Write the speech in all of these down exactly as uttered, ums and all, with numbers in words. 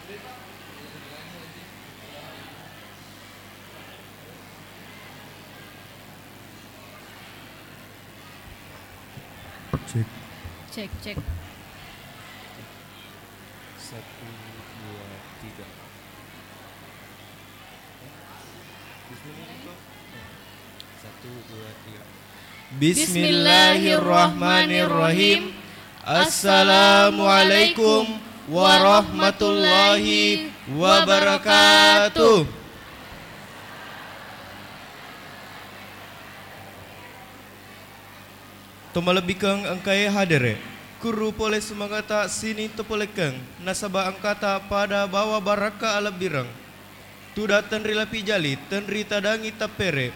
Cek. Cek, cek. Satu, dua, tiga. Bismillahirrahmanirrahim. Assalamualaikum warahmatullahi wabarakatuh. Tomalebbikeng engkae hadere, kurru pole sumangata sining topolekeng, nasaba engkata pada bawa barakka alebbireng. Tuda tenri lapi jali, tenri tadangi tappere,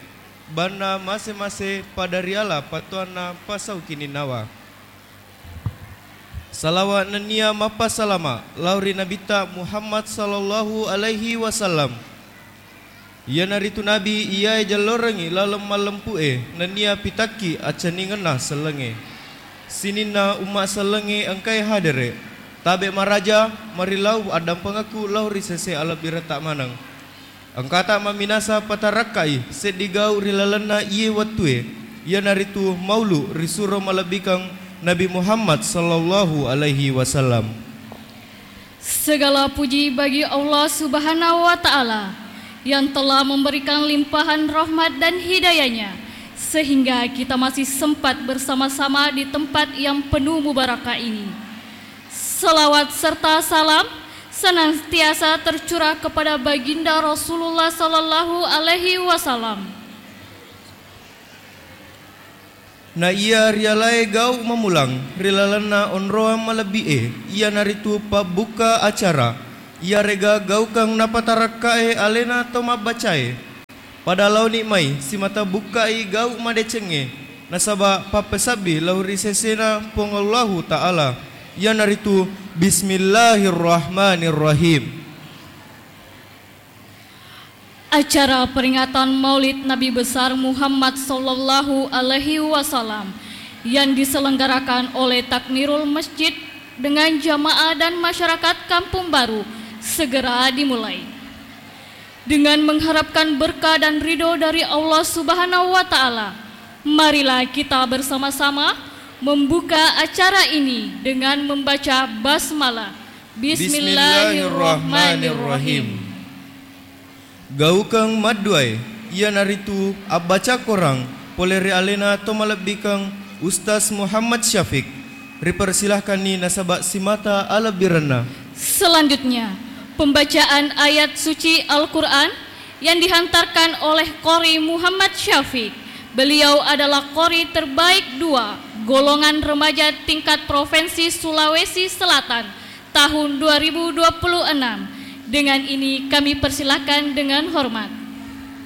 banna mase-mase pada riala pattuanna pasau kininnawa. Salawa nennia mappasalama lao ri Nabitta Muhammad sallallahu alaihi wasallam. Iyanaritu Nabi iyae jallorengngi laleng mallempu'e nennia pitakki acceningenna sellengnge. Sininna umma sellengnge engkae hadere, tabe maraja, marilau addampengekku lao ri sese alebbiretta maneng. Engkata mamminasa patarakkai seddi gau ri lalenna iye wettue, iyanaritu maulu risuro malebbikeng Nabi Muhammad sallallahu alaihi wasallam. Segala puji bagi Allah Subhanahu wa Ta'ala yang telah memberikan limpahan rahmat dan hidayahnya, sehingga kita masih sempat bersama-sama di tempat yang penuh mubarakah ini. Salawat serta salam senantiasa tercurah kepada Baginda Rasulullah sallallahu alaihi wasallam. Na iya rialae gau mamulang ri lalenna onroang malebbi'e, iyanaritu pabbukka acara. Iyarega gaukeng napatarakkae alena to mabbacae. Pada laoni mai simata bukkai gau madecengnge, nasaba pappesabbi lao ri sesena Puang Allahu Ta'ala, iyanaritu Bismillahirrahmanirrahim. Acara peringatan Maulid Nabi Besar Muhammad sallallahu alaihi wasallam yang diselenggarakan oleh Takmirul Masjid dengan jamaah dan masyarakat Kampung Baru segera dimulai. Dengan mengharapkan berkah dan ridho dari Allah Subhanahu wa Ta'ala, marilah kita bersama-sama membuka acara ini dengan membaca basmalah. Bismillahirrahmanirrahim. Gaukeng madduae, iyanaritu abbaca korang pole ri alena to malebbikeng Ustaz Muhammad Syafiq. Ripersilahkanni nasaba simata alebbirenna. Selanjutnya, pembacaan ayat suci Al-Quran yang dihantarkan oleh Qori Muhammad Syafiq. Beliau adalah Qori terbaik dua, golongan remaja tingkat Provinsi Sulawesi Selatan, tahun dua ribu dua puluh enam. Dengan ini kami persilakan dengan hormat.